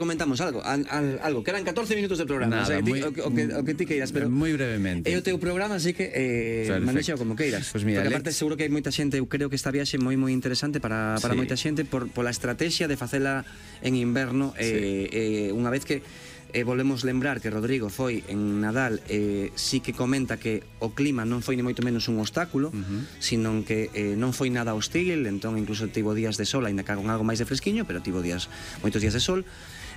Comentamos algo, algo, quedan 14 minutos de programa. Nada, o que ti queiras, pero moi brevemente. é o teu programa, así que manexeo como queiras. Pues mira, porque aparte seguro que hai moita xente, eu creo que esta viaxe moi interesante para moita xente pola estrategia de facela en inverno. Unha vez que volvemos lembrar que Rodrigo foi en Nadal, sí que comenta que o clima non foi ni moito menos un obstáculo, sino que non foi nada hostil, entón incluso tivo días de sol, ainda que con algo máis de fresquiño, pero tivo moitos días de sol.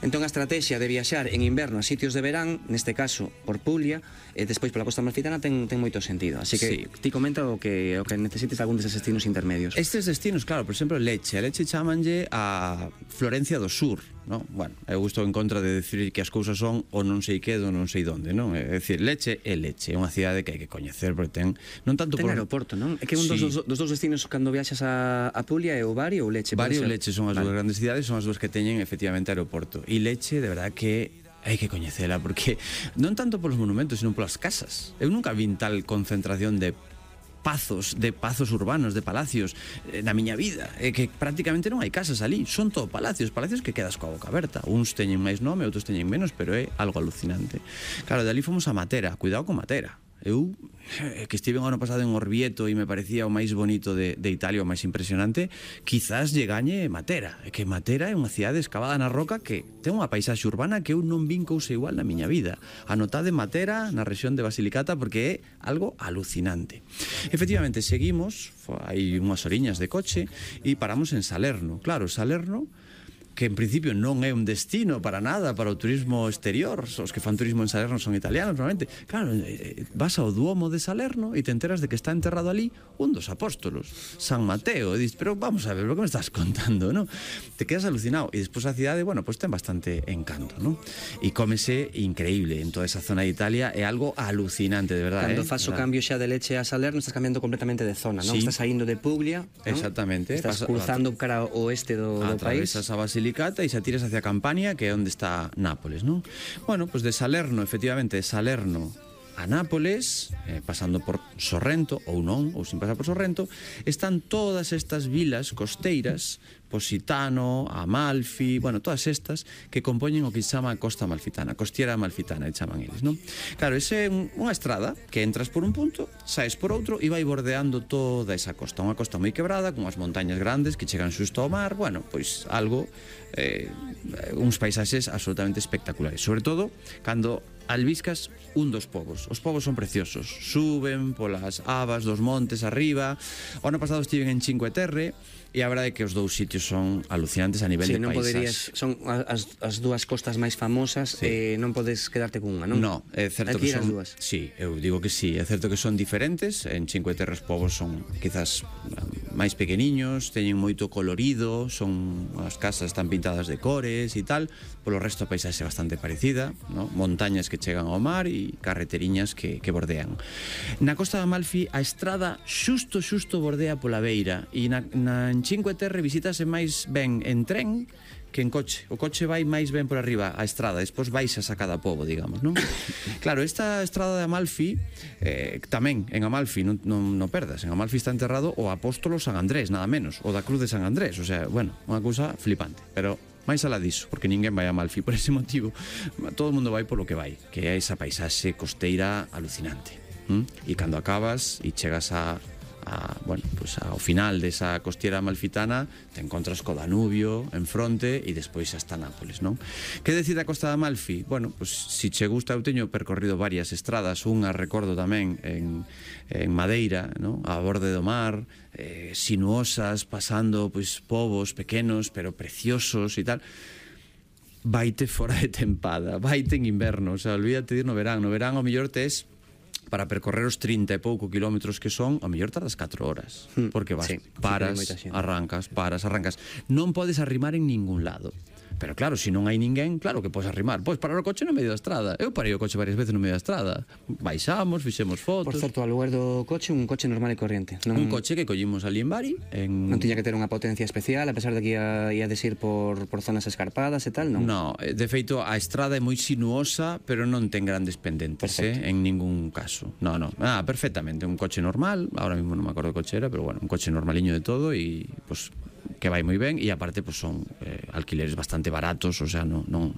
Entón a estrategia de viaxar en inverno a sitios de verán, neste caso por Puglia, e despois pola Costa Amalfitana ten moito sentido. Así que ti comenta o que necesites algún deses destinos intermedios. Estes destinos, claro, por exemplo, Lecce. A Lecce chamanlle a Florencia do Sur, non? Bueno, eu estou en contra de decir que as cousas son o non sei que do non sei donde, non? É dicir, Lecce é Lecce, é unha cidade que hai que coñecer porque ten non tanto ten aeroporto, non? É que un dos dous destinos cando viaxas a Puglia é o Bari ou Lecce. Bari ou Lecce son as dúas grandes cidades, son as dúas que teñen efectivamente aeroporto. E Lecce, de verdad que hai que coñecela porque non tanto polos monumentos, sino polas casas. Eu nunca vin tal concentración de pazos urbanos, de palacios na miña vida, que prácticamente non hai casas ali, son todo palacios que quedas coa boca aberta. Uns teñen máis nome, outros teñen menos, pero é algo alucinante. Claro, de ali fomos a Matera, cuidado con Matera. Eu, que estive o ano pasado en Orvieto e me parecía o máis bonito de Italia, o máis impresionante, quizás lle gañe Matera. Que Matera é unha cidade escavada na roca que ten unha paisaxe urbana que eu non vin cousa igual na miña vida. Anotade Matera na rexión de Basilicata porque é algo alucinante. Efectivamente, seguimos, hai unhas horiñas de coche e paramos en Salerno. Claro, Salerno, que en principio non é un destino para nada para o turismo exterior, os que fan turismo en Salerno son italianos normalmente. Claro, vas ao Duomo de Salerno e te enteras de que está enterrado ali un dos apóstolos, San Mateo, e dices, pero vamos a ver, lo que me estás contando, ¿no? Te quedas alucinado, e despois a cidade, bueno, pues ten bastante encanto, ¿no? E cómese increíble en toda esa zona de Italia, é algo alucinante, de verdad. Cando fas o cambio xa de Lecce a Salerno, estás cambiando completamente de zona, non? Sí. Estás saindo de Puglia, ¿no? Exactamente. Estás cruzando cara ao oeste do país. Atravesas a Basilicata e xa tiras hacia Campania, que é onde está Nápoles, non? Bueno, pues de Salerno, efectivamente, de Salerno a Nápoles, pasando por Sorrento, ou non, ou sin pasar por Sorrento, están todas estas vilas costeiras, Positano, Amalfi, bueno, todas estas que compoñen o que se chama Costa Amalfitana, Costiera Amalfitana, chaman eles, non? Claro, ese é unha estrada que entras por un punto, saes por outro e vai bordeando toda esa costa, unha costa moi quebrada, con as montañas grandes que chegan xusto ao mar, bueno, pois algo, uns paisaxes absolutamente espectaculares, sobre todo cando albiscas un dos povos. Os povos son preciosos, suben polas abas dos montes arriba. O ano pasado estiven en Cinque Terre e a verdade é que os dous sitios son alucinantes a nivel de non paisaxe. Son as dúas costas máis famosas, non podes quedarte con unha, non? No, é certo que son... Dúas. Sí, eu digo que sí, é certo que son diferentes. En Cinque Terre os povos son quizás máis pequeniños, teñen moito colorido, son as casas están pintadas de cores e tal. Polo resto a paisaxe é bastante parecida, no? Montañas que chegan ao mar e carreteriñas que bordean. Na Costa de Amalfi a estrada xusto bordea pola beira e en Cinque Terre visitase máis ben en tren que en coche. O coche vai máis ben por arriba a estrada, despois baixas a cada pobo, digamos, non? Claro, esta estrada de Amalfi, tamén en Amalfi, non perdas, en Amalfi está enterrado o apóstolo San Andrés, nada menos, o da Cruz de San Andrés, o sea, bueno, unha cousa flipante, pero máis alá diso, porque ninguén vai a Amalfi por ese motivo, todo o mundo vai polo que vai, que é esa paisaxe costeira alucinante. E cando acabas e chegas bueno, pues ao final desa costiera amalfitana te encontras co Danubio en fronte e despois hasta Nápoles, non? Que decir da Costa de Amalfi? Bueno, pues si che gusta, eu teño percorrido varias estradas, unha recordo tamén en Madeira, non? A borde do mar, sinuosas, pasando pois povos pequenos pero preciosos e tal. Vaite fora de tempada, vaite en inverno, o sea, olvídate de ir no verán ao mellor tes para percorrer os 30 e pouco kilómetros que son, ao mellor tardas 4 horas, porque vas, paras, arrancas, non podes arrimar en ningún lado. Pero claro, se non hai ninguén, claro que podes arrimar. Podes parar o coche no medio da estrada. Eu parei o coche varias veces no medio da estrada. Baixamos, fixemos fotos. Por certo, ao lugar do coche, un coche normal e corriente. Un coche que collimos ali en Bari. Non tiña que ter unha potencia especial, a pesar de que ia desir por zonas escarpadas e tal, non? No, de feito, a estrada é moi sinuosa, pero non ten grandes pendentes, en ningún caso. No, perfectamente. Un coche normal, ahora mismo non me acordo de coche era, pero bueno, un coche normaliño de todo e, pues, que vai moi ben, e aparte pues, son alquileres bastante baratos, o sea, non